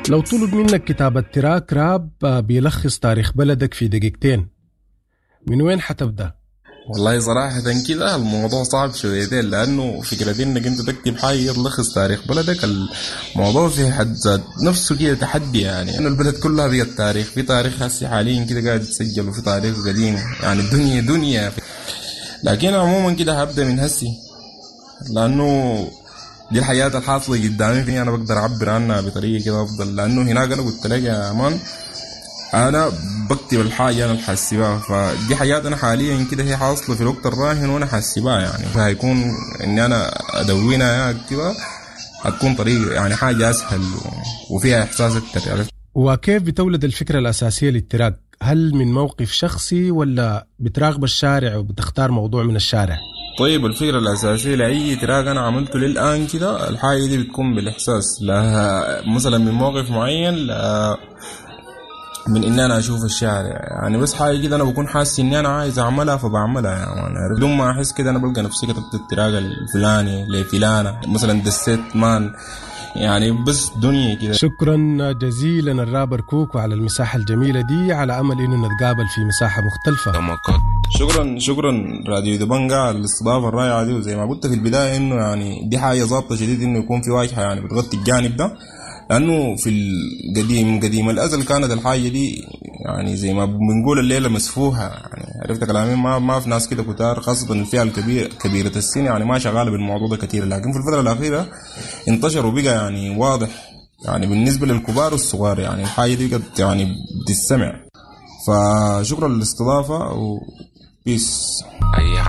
لو طلب منك كتابة track راب بيلخص تاريخ بلدك في دقيقتين، من وين حتبدأ؟ والله صراحة كده الموضوع صعب شويتين، لأنه فكرة إنك أنت تكتب حاجة تلخص تاريخ بلدك الموضوع في حد ذات نفسه كده تحدي، يعني إنه البلد كلها بقت تاريخ، في تاريخ هسي حاليا كده قاعد يتسجل وفي تاريخ قديم، يعني الدنيا دنيا. لكن عموما كده هبدأ من هسي، لأنه دي الحياة الحاصلة قدامي فيني أنا بقدر أعبر عنها بطريقة كده أفضل. لأنه هناك أنا قلت لك يا مان أنا بكتب الحاجة أنا الحاسبها، فدي حاجات أنا حاليا كده هي حاصلة في الوقت الراهن وأنا حاسبها، يعني فهيكون إني أنا أدونها أكتبها هتكون طريقة يعني حاجة أسهل وفيها إحساس أكتر يعني. وكيف بتولد الفكرة الأساسية لل track؟ هل من موقف شخصي ولا بتراقب الشارع وبتختار موضوع من الشارع؟ طيب الفكرة الأساسية لأي track أنا عملته للآن كده الحاجة دي بتكون بالإحساس، لا مثلا من موقف معين، لا من إن أنا أشوف الشارع، يعني بس حاجة كده أنا بكون حاسس إني أنا عايز أعملها فبعملها، يعني بدون ما أحس كده أنا بلقى نفسي كتبت ال track الفلاني لفلانة مثلا دسيت man، يعني بس دنيا كده. شكرا جزيلا الرابر كوكو على المساحة الجميلة دي، على أمل إنه نتقابل في مساحة مختلفة. شكرا راديو دبنجا على الاستضافة الرائعة دي، وزي ما قلت في البداية إنه يعني دي حاجة ظابطة شديد إنه يكون في واجهة يعني بتغطي الجانب ده، لأنه في القديم قديم الأزل كانت الحاجة دي يعني زي ما بنقول الليلة مسفوحة، يعني عرفت كلامي، ما في ناس كده كتار، خاصة الفئة الكبيرة كبيرة السن يعني ما شغالة بالموضوع ده كتير، لكن في الفترة الأخيرة انتشر وبقى يعني واضح يعني بالنسبة للكبار والصغار، يعني الحاجة دي بقت يعني بتستمع. فشكرا للاستضافة و peace.